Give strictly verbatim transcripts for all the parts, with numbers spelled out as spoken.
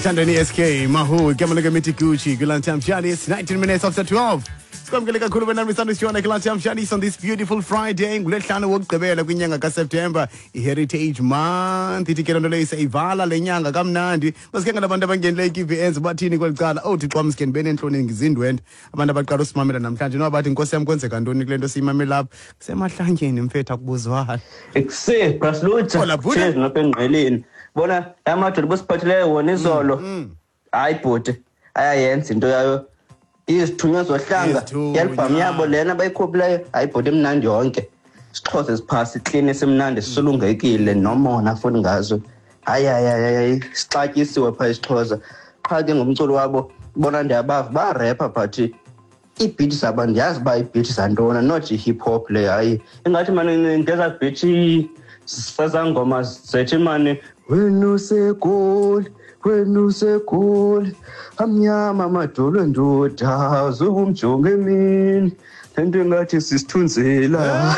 Ithandeni S K Mahu igama lika Gucci kwi-Lunchtime Shanice, nineteen minutes after twelve. Sikwamkele kakhulu wena Misando Shona kwi-Lunchtime Shanice on this beautiful Friday ngulesihlanu wokugqibela kwinyanga kaSeptember, i-Heritage Month. Ithi ke loo nto leyo seyivala le nyanga kamnandi. Masike ngalabantu abangenileyo i-K V Ns bathini kweli cala? Oh Thixo wam, sike ndibe neentloni ngizindwendwe. Abantu abaqala usimamela namhlanje noba bathi Nkosi yam kwenzeka ntoni kule nto siyimamela apha? Kusemahlanyeni mfethu, akubuzwana. Ekuse, Brasluta. Hola, Buddha. Cheers ngapha engqeleni. Bona amadoda bosiphathileyo wona izolo. Hayi bhuti, ayayenza into yayo. Izithunywa zohlanga, Izithunywa. i-album yabo lena bayikhuphileyo, hayi bhuti imnandi yonke. Isixhosa esiphasi, clean esimnandi, sisulungekile nomona futhi ngazo. Hayi, hayi, hayi, hayi, sixatyisiwe pha isiXhosa. Qha ke ngomculo wabo, bona ndiyabava ba-rapper but ii-beat zabo ndiyazi uba ii-beat zantoni, not i-hip hop le. Hayi, ingathi mani ngeza beat sezangoma zethu mani, wena useGoli, wena useGoli, amnyama amadolo endoda, zukumjonga emini, lento engathi sisithunzela.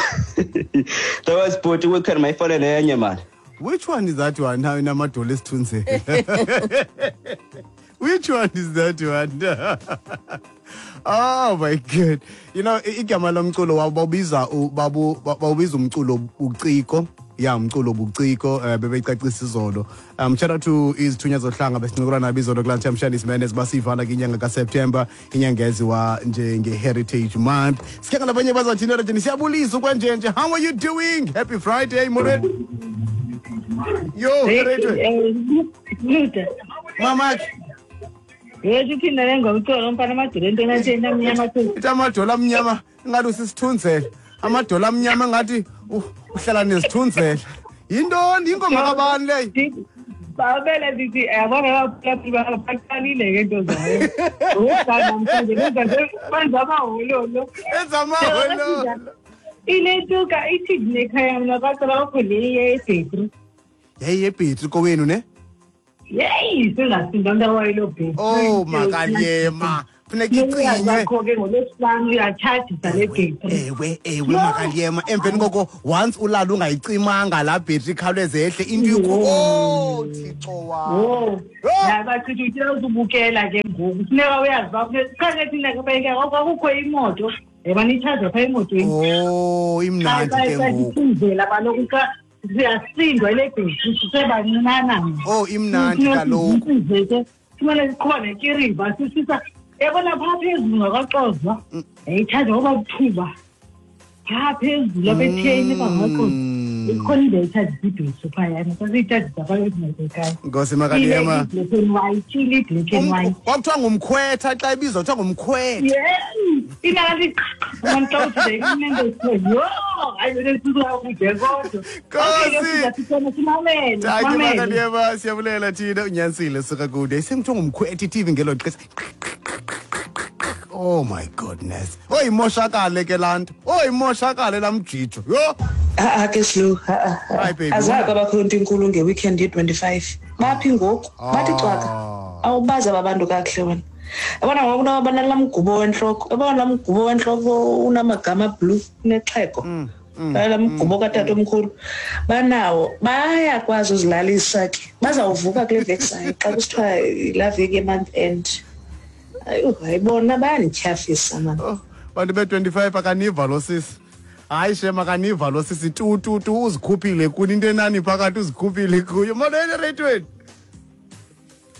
That was bhuti, weekend mayifane nenye mani. Which one is that one? Now inamadolo esithunzela. Which one is that one? Oh my God. You know, igama lomculo wabo bawubiza u-, babu-, bawubiza umculo ubuciko. Ya, umculo ubuciko, eh, bebecacisa izolo. Um, shout out to izithunywa zohlanga besincokola nabo izolo kulaa Lunchtime Shanice Mendes, basivana ke inyanga kaSeptember, inyanga eziwa njenge-Heritage Month. Sike ngalabanye bazathini rejeni, siyabulisa ukwenjenje. How are you doing? Happy Friday, Molweni. Yo, Hey, Rachel. eh, Luda. Mama. Yethu thina le ngomculo umfana amadolo into engathi amnyama tu. Ithi amadolo amnyama ngathi usisithunzela. Amadolo amnyama ngathi u-, uhlala nesithunzela. Yintoni ingoma kabani leyo? Babele ndithi yabona baphula baqalile ke into zayo. Uza namhlanje benza benza amahololo. Benza amahololo. Iletuka ithi nekhaya mina bacela ukho le yebhetri. Yayi yebhetri kowenu ne? Yeyi, singasinda into wayelo bhetri. Oh makalema. Funeka icinywe. Yakho ke ngolwesihlanu uyatshajisa le bhetri. Ewe, ewe makalema. Emveni koko once ulala ungayicimanga la bhetri ikhawuleze yehle into ikho. Oh Thixo wam. Oh. Oh. Yaba chithi uthi uzubukela ke ngoku. Funeka uyazi uba qha ke thina ke bayike kwakukho imoto. Yabona itshaja pha emotweni. Oh, imnandi ke ngoku. Indlela kaloku xa siyasindwa le bhetri sisebancinana. Oh, imnandi kaloku. Simane siqhuba nekiriva sisisa. Yabona phaa phezulu ngakwaXhosa. Mm. Yayitshaja ngoba buthuba. Phaa phezulu apha etheni phaa ngakwaXhosa. Mm. Ikhona indawo etshajisa ibhetri phayana. Sasiyitshajisa phaa ekhaya. Nkosi makalema. Ile black and white, ile black and Um, white. Kwakuthiwa ngumkhwetha xa ibizwa kuthiwa ngumkhwetha. Yeah. Ingathi qha, umuntu xa uthi inento ethiwe, yho, hayi, le nto isuka kude kodwa. Nkosi. Okay, sisona simamele, Thank you, simamele. Makalema, siyabulela thina unyanisile suka kude. Isemthiwa ngumkhwetha i-T V ngelo xesha. Oh my goodness. Oyimoshakale ke laa nto. Oyimoshakale laa mjijo. Yho. Ha-a ke Slu, ha-a, ha-a. Hi, baby. Azange kwabakho into inkulu nge-weekend ye-twenty-five. Baphi ngoku? Bathi cwaka. Ah. Awubazi aba bantu kakuhle wena. Yabona ngoku unabana laa mgubo wentloko. Yabona laa mgubo wentloko unamagama blue, unexhego. Mm, mm, Laa mgubo mm, katata mm. omkhulu. Banawo, bayakwazi uzilalisa ke. Bazawuvuka kule veki sayo xa kusithiwa laa veki ye-month end. Ayo, hayibona bayandityhafisa mani. Oh, bantu be-twenty-five akaniva lo sisi. Hayi shem, akaniva lo sisi. Tu, tu, tu, uzikhuphile kuni into enani phakathi uzikhuphile kuyo. Molweni ereyidweni.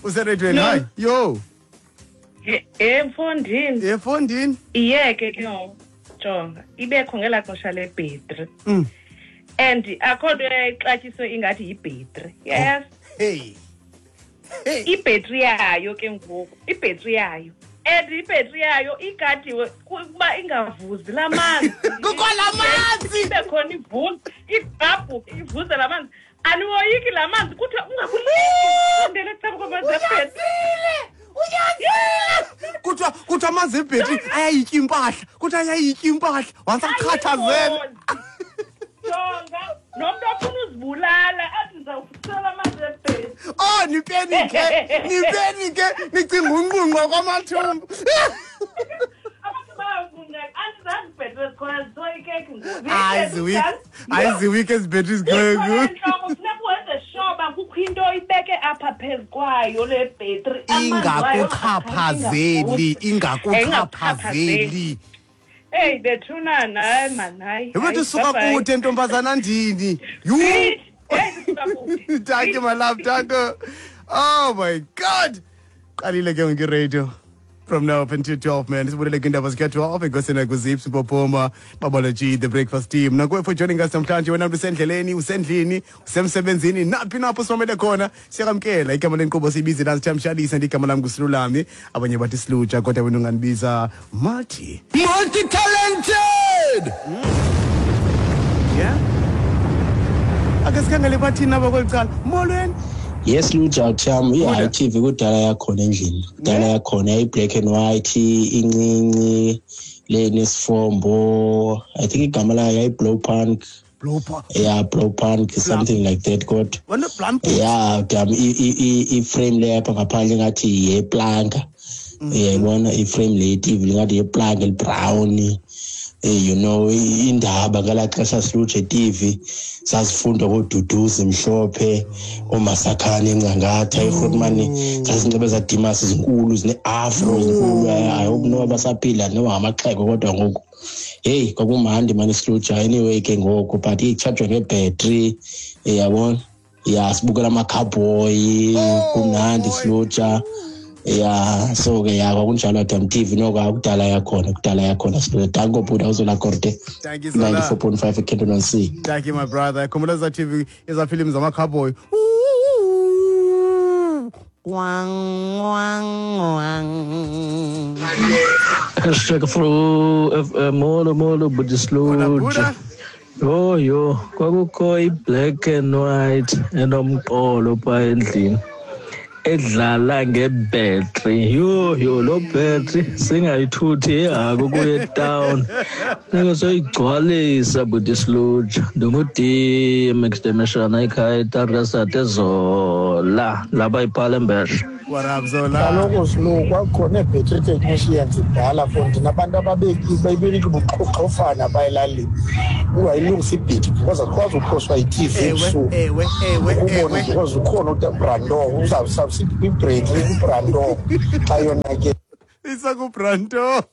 Usereyidweni, No. hayi. Yo. Eh, eh, mfondini. Eh, mfondini. Iyeke ke ngoku. Jonga, ibekho ngelaa xesha lebhetri. Mm. And akho nto eyayixatyiswe ingathi yibhetri. Yes. Oh. Hey. Hey. Ibhetri yayo ke ngoku, ibhetri yayo. And ibhetri yayo igadiwe ukuba ingavuzi laa manzi. Kukho laa manzi. Ibe khona ivuze, igqabhuke, ivuze laa manzi. Aniwoyiki laa manzi, kuthiwa ungakulindi. Sondele ecaleni kwamanzi ebhetri. Uyazile! Uyazile! Kuthiwa, kuthiwa amanzi ebhetri ayayitya impahla. Kuthiwa ayayitya impahla. Once achathazele. Jonga, nomntu ofuna uzibulala athi ndizawusela amanzi ebhetri. Oh, nipenike, nipenike, nicinga unqunqwa kwamathumbu. Abantu bayawunqunqa. Andizange ibhetri ezikhona zisoyikeki ngoku. Hayi, ziwiki. Hayi, ziwiki ezi bhetri zikhoyo Zikhona ngoku. entloko, funeka wenze sure uba kukho into oyibeke apha phezu kwayo le battery ingakuchaphazeli ingakuchaphazeli Hey bethunana hayi man hayi Wethu suka kude ntombazana ndini you Thank you my love thank you. Oh my God qalile ke nge-radio from now up until twelve man sibulele kwindaba zika twelve enkosini kuzips Mpopoma Babology the breakfast team nakuwe for joining us namhlanje wena usendleleni usendlini usemsebenzini naphi napho simamele khona siyakamkela igama lenkqubo siyibize Lunchtime igama lam nguSilulami abanye bathi Silutsha kodwa wena unganibiza multi multi talented mm. Yeah ake sikhangele bathini aba kweli cala molweni. Yes Luja Cham i T V kudala yakhona endlini kudala yakhona i black and white incinci le nesifombo I think igama layo i blow punk blow punk yeah blow punk something like that kodwa yeah damn i i frame le apha ngaphandle ngathi yeplanka uyayibona i frame le T V ngathi yeplanka el brown you know indaba ngala xesha Silutshe T V sasifunda koDuduzi Mhlophe oMasakhane eNcangatha eGrootman sasinxibe zadimas izinkulu zine afro zinkulu I hope no abasaphila no ngamaxhego kodwa ngoku hey kwakumandi manje Silutshe anyway ke ngoku but icharge ngebattery yabona yeah sibukela ama cowboy kumnandi Silutshe yeah so ke ya kwakunjalo Adam T V noko akudala yakhona kudala yakhona Silutshe danko buda uzola korte Thank you Zola ninety-four point five eKenton C Thank you my brother khumbula za T V eza films zama cowboy wang wang wang Hashtag Afro F M molo molo buti Silutshe yo yo kwakukho i-black and white enomqolo pha endlini edlala ngebhetri yo yo lo bhetri singayithuthi ehako kuye town nike soyigcwalisa buti Silutshe ndingu-D M Demeshana ekhaya etarasat ezola lapha iPalembeshe. What up Zola kaloku Silu kwakukhona ii-battery technicians kudala fundi nabantu ababeki buqhoqhofana pha elalini ungayilungisa ibhetri because akukwazi uphoswa yi-T V ebusuku ewe ewe ubone because ukhona uBrando uzawusabisa ibhetri kuBrando xa yona ke isakuBrando.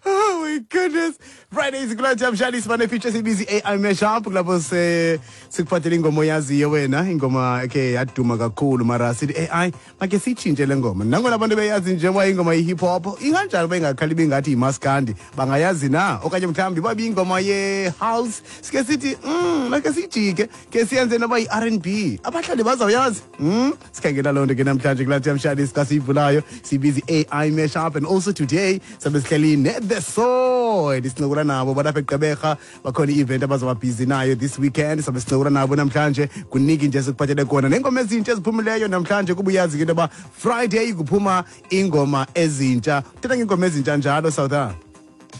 Oh my goodness. Fridays kulaa mshali sibane feature sibizi A I mashup kulapho se sikuphathele ingoma oyaziyo wena ingoma ke yaduma kakhulu mara sithi A I make sitshintshe le ngoma nangona abantu beyazi njengoba ingoma ye hip hop inganjalo bengakhali bengathi imaskandi bangayazi na okanye mhlawumbi babi ingoma ye house sike sithi mm make sijike ke siyenze noba i R and B abahlali bazawuyazi mm sikhangela loo nto ke namhlanje kulaa mshali sikasivulayo sibizi A I mashup and also today sabe sihleli The Sword sincokola nabo balapha eGqeberha bakhona i-event abazoba busy nayo this weekend sabe sincokola nabo namhlanje kuniki nje sikuphathele kona nengoma ezintsha eziphumileyo namhlanje kuba uyazi ke into yoba Friday kuphuma ingoma ezintsha thetha ngengoma ezintsha njalo South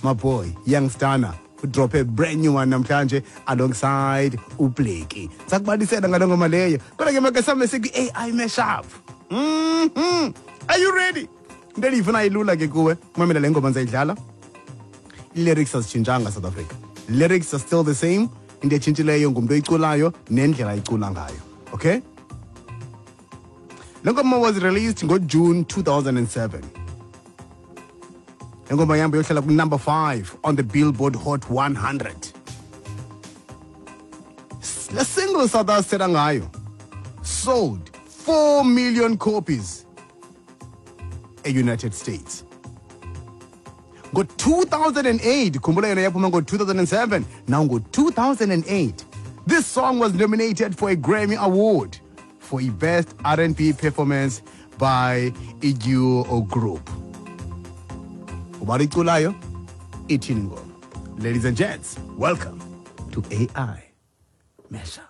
my boy Young Stunner drop a brand new one namhlanje alongside uBleki sakubalisela ngalo ngoma leyo kodwa ke make same sikwi A I mashup mhm are you ready into endiyifuna ilula ke kuwe mamela le ngoma ndizayidlala lyrics azitshintshanga South Africa lyrics are still the same into etshintshileyo ngumntu oyiculayo nendlela ayicula ngayo okay le ngoma was released ngoJune two thousand seven le ngoma yambo yohlala ku-number five on the Billboard Hot one hundred le single South asithetha ngayo sold four million copies e-United States ngo two thousand eight khumbula yona yaphuma ngo two thousand seven now ngo two thousand eight this song was nominated for a Grammy Award for a best R and B performance by a duo or group ubani iculayo ithini ngoma ladies and gents welcome to A I Mashup.